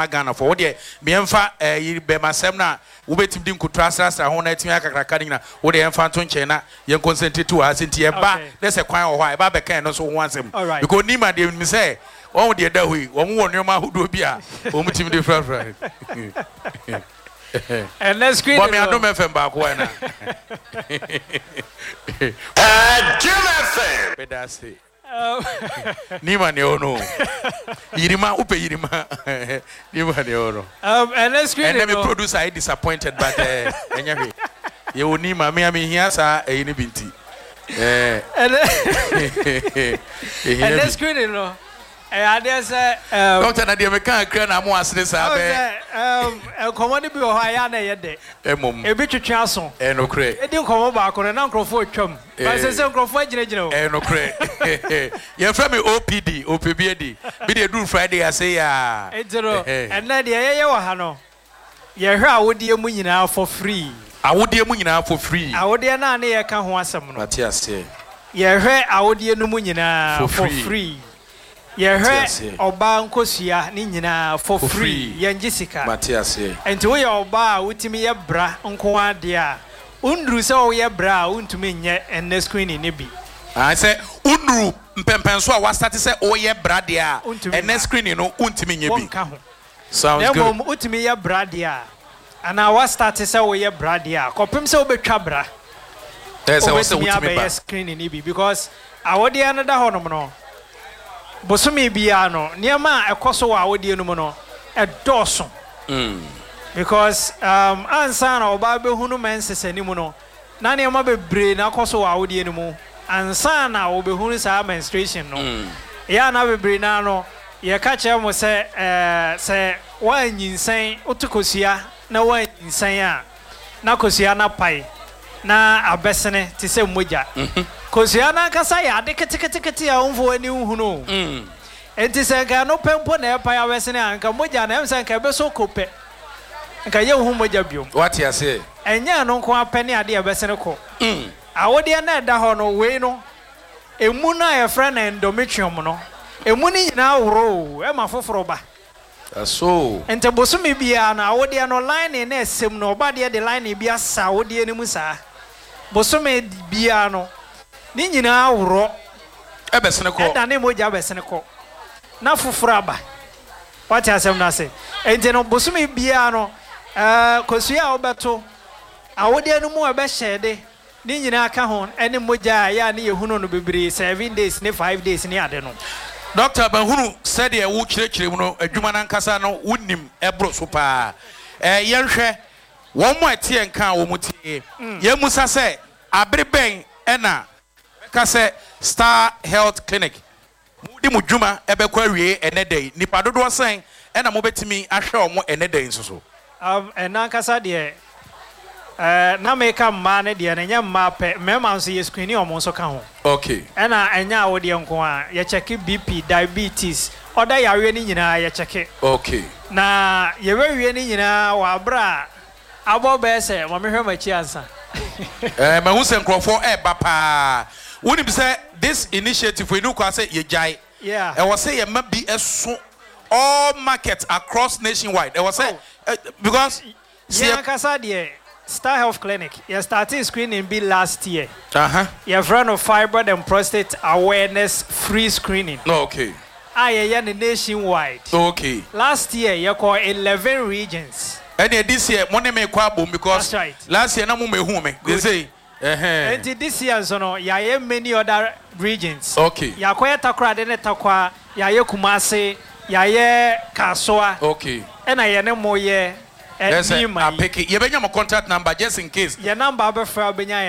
ama Ghanafoɔ. Wo deɛ ma yɛmfa ɛyi bɛmasɛm no a wobɛtumi de nkuto asrasra ho na atumi ayɛ kakraka no nyina, wo deɛ yɛmfa nto nkyɛn na yɛn concentrate wɔ ha. Sɛ nti yɛba na sɛ kwan wɔ hɔ a, yɛba abɛka ɛno nso ho asɛm. Because Nima deɛ menim sɛ wɔn deɛ ɛda hɔ yi, wɔn wɔ nneɛma ahodoɔ bi a wɔn tumi de frafra. Ɛnɛ screen Bɔ me Adom FM baako ɛ na. Adom FM. Meda ase. Nima nea ɔwɔ no o. Yirima wopɛ yirima. Nima nea ɔwɔ no. Ɛnɛ screen no. Ɛnɛ me producer ayɛ disappointed but ɛnyɛ hwee. Yɛwɔ Nima me a mehia saa ɛyi no bi nti. Ɛnɛ screen no. Ɛyɛ adeɛ sɛ ɛɛm. Doctor na deɛ meka akira na mo asere saa bɛɛ. Ɔhu sɛ ɛɛm nkɔmɔ no bi wɔ hɔ a ɛyɛ a na ɛyɛ dɛ. Mmom. Ebi twetwe aso. Ɛyɛ nokorɛ. Yɛdi nkɔmɔ baako no na nkorɔfoɔ retwam. But seesei nkorɔfoɔ agyinagyina o. Ɛyɛ nokorɛ. Yɛfrɛ me OPD, ɔpɛ bi adi. Me deɛ ɛduru Friday ase yi aa. Nti no ɛnnɛ deɛ yɛyɛ wɔ ha no, yɛhwɛ awodeɛ mu nyinaa for free. Awodeɛ mu nyinaa for free. Awodeɛ no a ne yɛreka ho asɛm no. Mate aseɛ. Yɛhwɛ awodeɛ no mu nyinaa for free. Yɛhwɛ ɔbaa nkosua ne nyinaa for free, yɛngye sika. Mate aseɛ. Nti woyɛ ɔbaa a wotumi yɛ bra nko ara deɛ a, wonduru sɛ woyɛ bra a wontumi nyɛ ɛnnɛ screening no bi. Ae sɛ wonnuru mpɛnpɛnso a woastate sɛ woyɛ bra deɛ a, Wontumi ɛnnɛ mma. screening no wontumi nyɛ bi. Wonka ho. Sounds Na good. mmom wotumi yɛ bra deɛ a, anaa woastarte sɛ woyɛ bra deɛ a, kɔpem sɛ wobɛtwa bra, Ɛyɛ sɛ ɛwɔ sɛ wobɛtumi wotumi ba. abɛyɛ screening no bi because awodeɛ no da hɔnom no, bosome biara no, nneɛma a ɛkɔ so wɔ awodeɛ no mu no, ɛdɔɔso. Because ansa na ɔbaa bɛhunu menses anim no, na nneɛma bebree na akɔ so wɔ awodeɛ no mu ansa na wɔbɛhunu saa menstruation no. Ɛyɛ a na bebree no ara no, yɛka kyerɛ mo sɛ sɛ woanyinsɛn, woto kosua na woanyinsɛn a, na kosua no apae na abɛsene te sɛ mogya. Kosua no ankasa yɛ ade keteketekete a womfa w'ani nhunu o. Enti sɛ anka ɛno pɛ mpo na ɛrepae abɛsene a, anka mogya no, ɛm sɛ anka ɛbɛsɔ ko pɛ. Anka yɛnhu mogya biom. Woate aseɛ? Ɛnyɛ ɛno nko ara pɛ ne adeɛ a ɛbɛsene kɔ. Awodeɛ no a ɛda hɔ no, wei no, emu no a yɛfrɛ no endometrium no, emu no nyinaa woro o, ɛma foforɔ ba. Ɛso. Nti bosome biara no, awodeɛ no, lining no a ɛsɛ mu no, ɔba deɛ de lining bi asa awodeɛ no mu saa. Bosome biara no, ne nyinaa worɔ. Ɛbɛsene kɔ. Ɛdane mogya bɛsene kɔ, na foforɔ aba. Woate asɛm no ase? Enti no, bosome biara no, ɛɛ, kosua a wobɛto, awodeɛ no mu a ɛbɛhyɛ de, ne nyinaa ka ho, ɛne mogya a ɛyɛ a ne yɛhunu no bebree, 7 days ne 5 days ne ade no. Dɔkta, mahunu sɛdeɛ wokyerɛkyerɛ mu no, adwuma no ankasa no wonim ɛboro so paa. Ɛɛ, yɛnhwɛ wɔn a ɛteɛ nka a wɔn tie. Yɛmmisa sɛ, abere bɛn na bɛka sɛ Star Health Clinic mode mo dwuma bɛkɔ awiei ɛnnɛ da yi? Nnipa dodoɔ sɛn na mobɛtumi ahwɛ wɔn ɛnnɛ da yi nso so? Ɛno ankasa deɛ, na meka mmaa no deɛ no, ɛnyɛ mmaa pɛ, mmarima nso yɛ screen wɔn nso ka ho. Ɛna ɛnyɛ awodeɛ nko ara, yɛ check BP, diabetes, ɔda yareɛ no nyinaa yɛ check. Na yɛbɛwie ne nyinaa wɔ aberɛ a abɔ bɛyɛ sɛ, ma mehwɛ m'akyi ansa. Ɛɛ, mahu sɛ nkurɔfoɔ reba paa. Wonim sɛ this initiative wei, ɛnni kwan sɛ yɛgyae. Ɛwɔ sɛ yɛma bi so all markets across nationwide. Ɛwɔ sɛ, because sɛ Yɛn yɛ. ankasa deɛ, Star Health Clinic, yɛ startee screening bi last year. Yɛfrɛ no Fibroid and Prostate Awareness Free Screening. A yɛyɛ no nationwide. Last year yɛkɔɔ 11 regions. Ɛneɛ this year mo ne me kɔ abom because That's right. last year na mo mɛhu me. Good. Sesei ɛhɛn. Enti this year nso no yɛayɛ many other regions. Yɛakɔyɛ Takoradi ne Tarkwa, yɛayɛ Kumasi, yɛayɛ Kasoa. Ɛna yɛne mo yɛ Ɛsɛ Nima yi. apeke. Yɛbɛnya mo contact number just in case. Yɛn number wobɛfrɛ a wobɛnya yɛn.